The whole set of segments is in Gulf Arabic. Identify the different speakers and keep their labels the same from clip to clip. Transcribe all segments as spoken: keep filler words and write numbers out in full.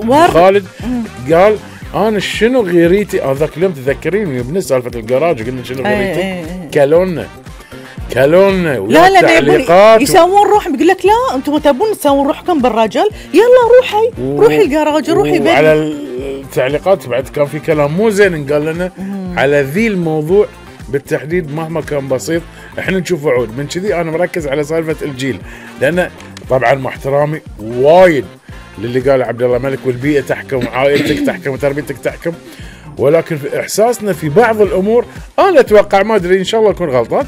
Speaker 1: خالد قال انا شنو غيريتي هذاك اليوم تذكريني بنفس سالفه الجراج قلنا شنو غيريتي كلونا كلونا
Speaker 2: لا لا تعليقات يسوون روح بيقول لك لا انتم تبون تسوون روحكم بالرجل يلا روحي و... روحي الجراج روحي بيت.
Speaker 1: على التعليقات بعد كان في كلام مو زين قال لنا مم. على ذي الموضوع بالتحديد مهما كان بسيط احنا نشوف وعود من كذي انا مركز على سالفه الجيل لان طبعا مع احترامي وايد للي قال عبد الله ملك والبيئه تحكم وعائلتك تحكم وتربيتك تحكم ولكن في احساسنا في بعض الامور انا اتوقع ما ادري ان شاء الله اكون غلطان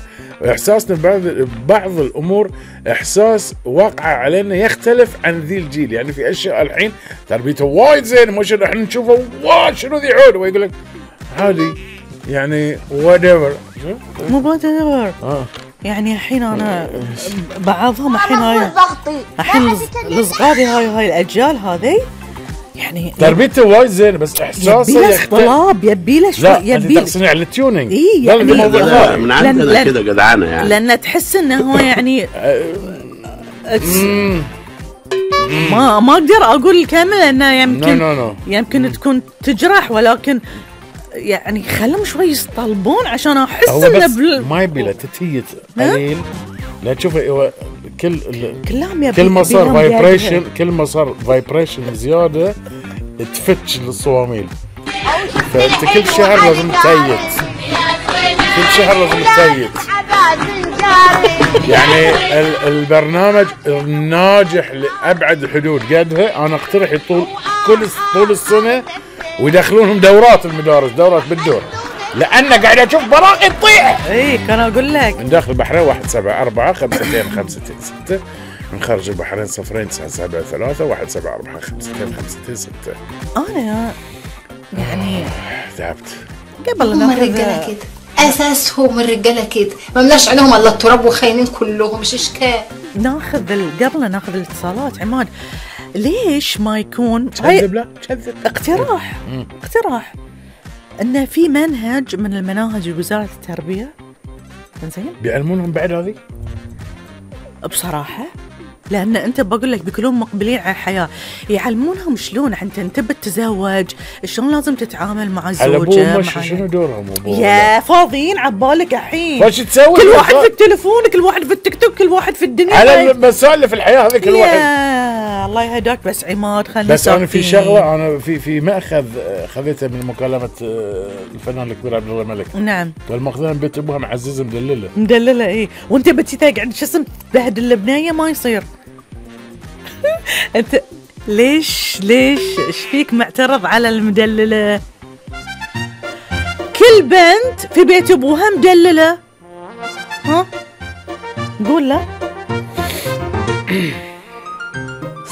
Speaker 1: احساسنا بعض بعض الامور احساس واقع علينا يختلف عن ذي الجيل يعني في اشياء الحين تربيته وايد زين مش احنا نشوفه واو شنو ذي عود ويقول لك عادي يعني whatever
Speaker 2: مو whatever اه يعني الحين انا بعضهم الحين هاي الحين الصغاري هاي هاي الاجيال هذه يعني
Speaker 1: تربيته وايد زين بس احساسه
Speaker 2: يبي له طلاب يبي له شوي
Speaker 1: يبي له تصنيع التيونينج
Speaker 2: اي يعني
Speaker 3: من عندنا كذا جدعانه يعني
Speaker 2: لان تحس انه هو يعني ما ما اقدر اقول الكامل لانه يمكن
Speaker 1: no, no, no.
Speaker 2: يمكن تكون تجرح ولكن يعني خلهم شوي يصطلبون عشان احس انه
Speaker 1: بل... ما يبي له تتيت قليل لا تشوف كل
Speaker 2: كلام
Speaker 1: كل ما صار فايبريشن كل ما صار فايبريشن زياده تفتش للصواميل فانت كل شهر لازم تتيت كل شهر لازم تتيت يعني البرنامج ناجح لابعد الحدود قدها انا اقترح يطول كل طول السنه ويدخلونهم دورات المدارس دورات بالدور لأن قاعد أشوف براقي تطيح
Speaker 2: إيه كان أقول لك
Speaker 1: من داخل البحرين واحد سبعة أربعة خمستين خمستين ستة من خارج البحرين صفرين تسعة سبعة ثلاثة واحد سبعة أربعة خمستين خمستين ستة
Speaker 2: أنا يعني
Speaker 1: تعبت
Speaker 2: قبل
Speaker 4: هم الرجالة كده أساسهم الرجالة كده ما ملاش عليهم إلا التراب وخاينين كلهم مش إشكال
Speaker 2: ناخذ قبل ناخذ الاتصالات عماد ليش ما يكون
Speaker 1: كذب لا كذب
Speaker 2: اقتراح مم. اقتراح انه في منهج من المناهج وزارة التربية زين
Speaker 1: بيعلمونهم بعد هذه
Speaker 2: بصراحة لأن أنت بقول لك بيكونون مقبلين على الحياة يعلمونهم شلون أنت أنت بتتزوج شلون لازم تتعامل مع الزوجة
Speaker 1: مع شنو دورهم
Speaker 2: يا فاضيين عبالك الحين
Speaker 1: فايش تسوي
Speaker 2: كل واحد في التليفون كل واحد في التيك توك كل واحد في الدنيا
Speaker 1: على المسائل في الحياة هذه كل واحد
Speaker 2: الله يهداك بس عماد خلينا
Speaker 1: بس أنا في شغلة أنا في في مأخذ خذيتها من مكالمة الفنان الكبير عبد الله ملك
Speaker 2: نعم
Speaker 1: والمأخذين بيت أبوها معززة مدللة
Speaker 2: مدللة إيه وأنت بتي تقعد شو اسم تبهدل البنية ما يصير انت ليش ليش ايش فيك معترض على المدلله كل بنت في بيت ابوها مدلله ها قول لا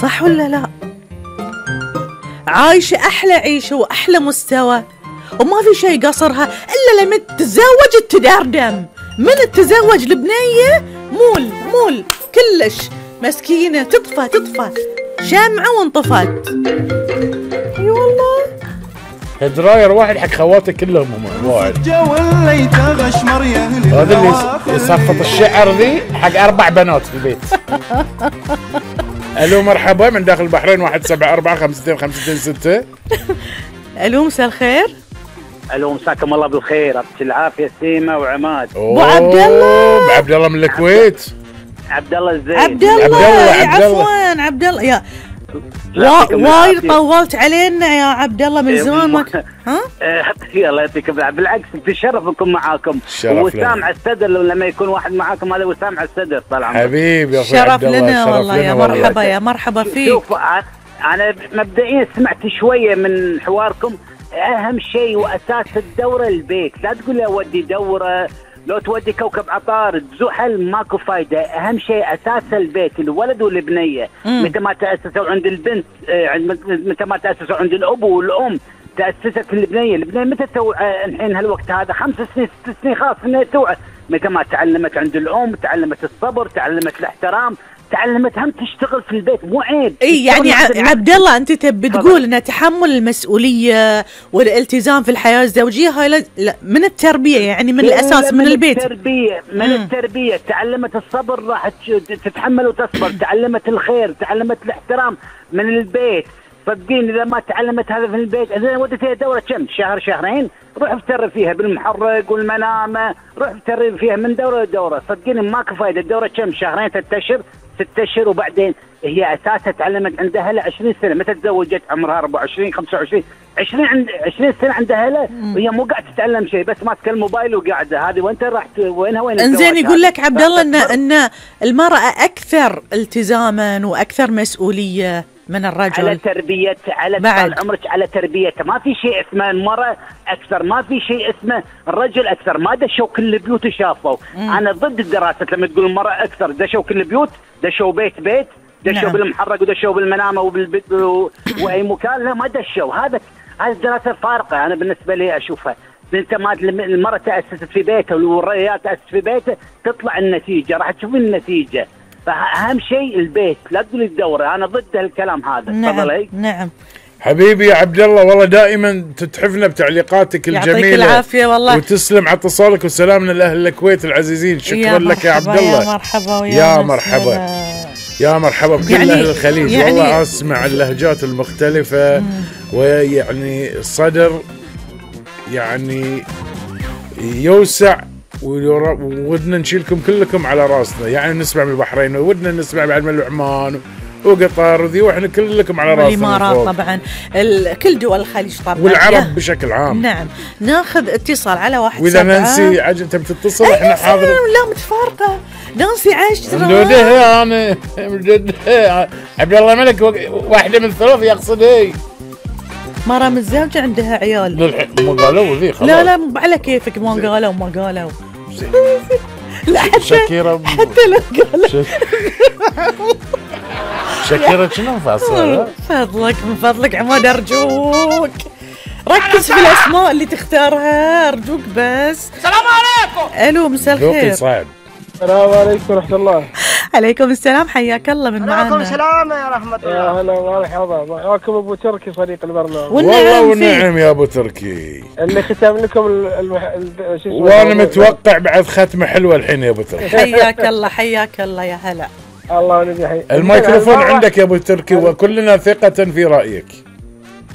Speaker 2: صح ولا لا عايشه احلى عيشه واحلى مستوى وما في شيء قصرها الا لما تتزوج تدردم من التزوج البنيه مول مول كلش مسكينة تطفى تطفى شمعة وانطفت اي والله
Speaker 1: دراير واحد حق خواتي كلهم هم واحد هذا اللي يصفط الشعر ذي حق أربع بنات في البيت ألو مرحبا من داخل البحرين واحد سبعة أربعة خمستين خمستين ستة
Speaker 2: ألو مساء الخير
Speaker 5: ألو مساكم الله بالخير أبت العافية سيمة وعماد
Speaker 2: أبو عبد الله
Speaker 1: أبو عبد الله من الكويت
Speaker 5: عبد الله الزين
Speaker 2: عبد الله عفوا عبد الله يا وايد طولت علينا يا عبد الله من زمان ما ها
Speaker 5: يلا يعطيك العافيه بالعكس تشرف نكون معاكم وسامع الصدر لما يكون واحد معاكم هذا وسامع الصدر طال عمرك
Speaker 1: حبيبي يا اخوي
Speaker 2: شرف لنا والله يا مرحبا يا مرحبا فيك
Speaker 5: شوف انا مبدئيا سمعت شويه من حواركم اهم شيء واساس الدوره البيت لا تقول لي اودي دوره لو تودي كوكب عطارد زحل ماكو فايدة أهم شيء أساس البيت الولد والبنية متى ما تأسسوا عند البنت متى ما تأسسوا عند الأب والأم تأسست البنية البنية متى تسوي الحين هالوقت هذا خمس سنين ست سنين خلاص إنها توعى متى ما تعلمت عند الأم تعلمت الصبر تعلمت الاحترام تعلمت هم تشتغل في البيت مو عيب
Speaker 2: اي يعني عبد الله انت تبي تقول ان تحمل المسؤوليه والالتزام في الحياه الزوجيه هاي من التربيه يعني من الاساس من, من البيت
Speaker 5: التربيه من مم. التربيه تعلمت الصبر راح تتحمل وتصبر تعلمت الخير تعلمت الاحترام من البيت صدقيني اذا ما تعلمت هذا في البيت، اذا وديتها دوره كم شهر شهرين، روح افتر فيها بالمحرق والمنامه، روح افتر فيها من دوره لدوره، صدقيني ماكو فايده. الدوره كم شهرين ثلاث اشهر ست اشهر، وبعدين هي اساسها تعلمت عندها له عشرين سنه، متى تزوجت عمرها أربعة وعشرين خمسة وعشرين عشرين عند عشرين سنه عندها له، وهي مو قاعده تتعلم شيء، بس ماسكه الموبايل وقاعده. هذه وانت راح وينها وين؟
Speaker 2: انزين يقول لك عبد الله ان ان المراه اكثر التزاما واكثر مسؤوليه من الرجل
Speaker 5: على تربيه، على طال عمرك على تربيته. ما في شيء اسمه المراه اكثر، ما في شيء اسمه الرجل اكثر. ما دشوا كل البيوت وشافوا. انا ضد الدراسه لما تقول المراه اكثر. دشوا كل البيوت، دشوا بيت بيت، دشوا نعم. بالمحرق ودشوا بالمنامه وبالبيت واي مكان. لا ما دشوا. هذا هذه الدراسه فارقه. انا بالنسبه لي اشوفها. انت ما المراه تاسست في بيتها والرجال تاسس في بيته، تطلع النتيجه، راح تشوفين النتيجه. فأهم شيء البيت، لا تقولي الدورة. أنا ضد هالكلام هذا.
Speaker 2: نعم نعم
Speaker 1: حبيبي يا عبد الله، والله دائما تتحفنا بتعليقاتك الجميلة.
Speaker 2: يعطيك العافية والله،
Speaker 1: وتسلم على اتصالك وسلامنا لأهل الكويت العزيزين. شكرا لك يا عبد الله.
Speaker 2: يا مرحبا ويا
Speaker 1: يا مرحبا يا مرحبا بكل يعني أهل الخليج. يعني والله أسمع اللهجات المختلفة مم. ويعني الصدر يعني يوسع، ودنا نشيلكم كلكم على راسنا. يعني نسمع من البحرين، ودنا نسمع بعد من عمان وقطر وذي، واحنا كلكم على راسنا.
Speaker 2: الامارات طبعا، كل دول الخليج طبعا،
Speaker 1: والعرب بشكل عام.
Speaker 2: نعم. ناخذ اتصال على واحد
Speaker 1: واذا نانسي عجل تبي تتصل احنا حاضر.
Speaker 2: لا متفارقه نانسي عايش
Speaker 1: مجدها. انا مجدها عبد الله ملك واحده من ثلاث يقصد هي
Speaker 2: مرة متزوجة عندها عيال.
Speaker 1: ما قالوا ذي خلاص.
Speaker 2: لا لا على كيفك، ما قالوا ما قالوا. لا حتى
Speaker 1: شكيرة
Speaker 2: حتى لو قالوا
Speaker 1: شكيرة شنو فاصلة؟
Speaker 2: فضلك من فضلك عماد أرجوك ركز في الأسماء اللي تختارها أرجوك بس.
Speaker 6: السلام عليكم.
Speaker 2: ألو مساء الخير.
Speaker 1: صعب.
Speaker 7: السلام عليكم ورحمة الله.
Speaker 2: عليكم السلام، حياك الله من معنا.
Speaker 6: عليكم السلام يا رحمة الله.
Speaker 7: يا هلا ومرحبا، معاكم أبو تركي صديق البرنامج.
Speaker 1: والله والنعم يا أبو تركي.
Speaker 7: اللي ختم لكم المح... شو اسمه،
Speaker 1: وأنا متوقع بعد ختمة حلوة الحين يا أبو تركي.
Speaker 2: حياك الله حياك الله يا هلا.
Speaker 7: الله ونبي حي.
Speaker 1: الميكروفون عندك يا أبو تركي، وكلنا ثقة في رأيك.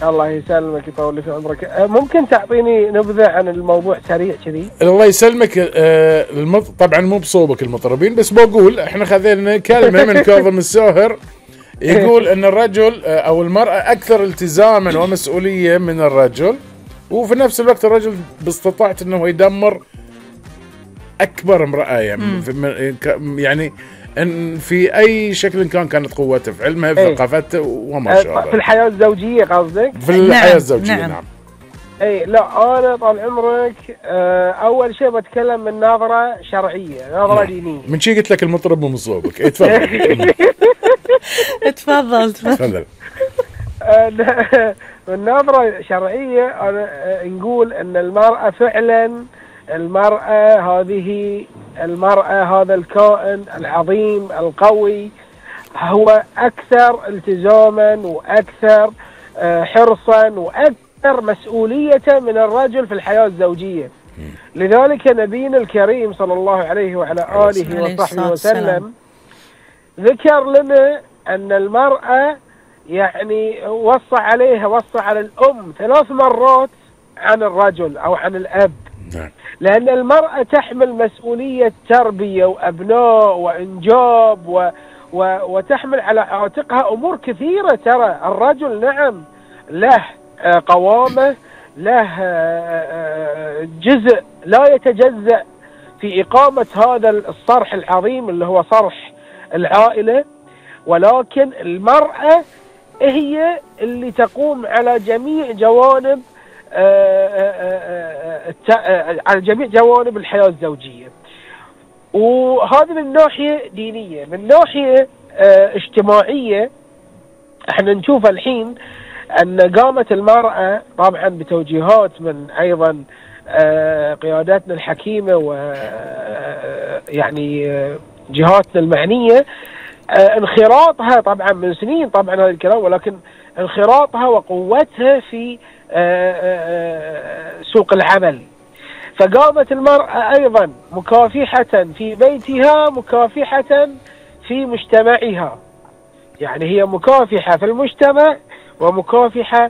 Speaker 7: الله يسلمك يطول لي في عمرك. ممكن تعطيني نبذة عن الموضوع سريع كذي؟
Speaker 1: الله يسلمك. آه المط... طبعا مو بصوبك المطربين، بس بقول احنا خذينا كلمة من كاظم الساهر يقول ان الرجل آه او المرأة اكثر التزاما ومسؤولية من الرجل، وفي نفس الوقت الرجل باستطاعت انه يدمر اكبر امرأة يعني, يعني ان في اي شكل كان كانت قوته في علمها في ثقافته وما شابه.
Speaker 7: في الحياه الزوجيه قصدك؟
Speaker 1: في الحياه
Speaker 2: نعم.
Speaker 1: الزوجيه
Speaker 2: نعم,
Speaker 1: نعم.
Speaker 7: اي لا انا طال عمرك اول شيء بتكلم من نظره شرعيه، نظره نعم. دينيه.
Speaker 1: من شي قلت لك المطرب مو من صوبك. تفضل
Speaker 2: تفضل تفضل.
Speaker 7: من نظره شرعيه انا نقول ان المراه فعلا، المراه هذه المرأة هذا الكائن العظيم القوي هو أكثر التزاما وأكثر حرصا وأكثر مسؤولية من الرجل في الحياة الزوجية. لذلك نبينا الكريم صلى الله عليه وعلى آله وصحبه وسلم ذكر لنا أن المرأة يعني وصى عليها وصى على الأم ثلاث مرات عن الرجل أو عن الأب. لأن المرأة تحمل مسؤولية تربية وأبناء وإنجاب و و وتحمل على عاتقها أمور كثيرة. ترى الرجل نعم له قوامة، له جزء لا يتجزأ في إقامة هذا الصرح العظيم اللي هو صرح العائلة، ولكن المرأة هي اللي تقوم على جميع جوانب على جميع جوانب الحياة الزوجية. وهذا من ناحية دينية. من ناحية اجتماعية احنا نشوف الحين ان قامت المرأة طبعا بتوجيهات من ايضا قياداتنا الحكيمة ويعني جهاتنا المعنية، انخراطها طبعا من سنين طبعا هذا الكلام، ولكن انخراطها وقوتها في سوق العمل. فقامت المرأة أيضا مكافحة في بيتها، مكافحة في مجتمعها. يعني هي مكافحة في المجتمع ومكافحة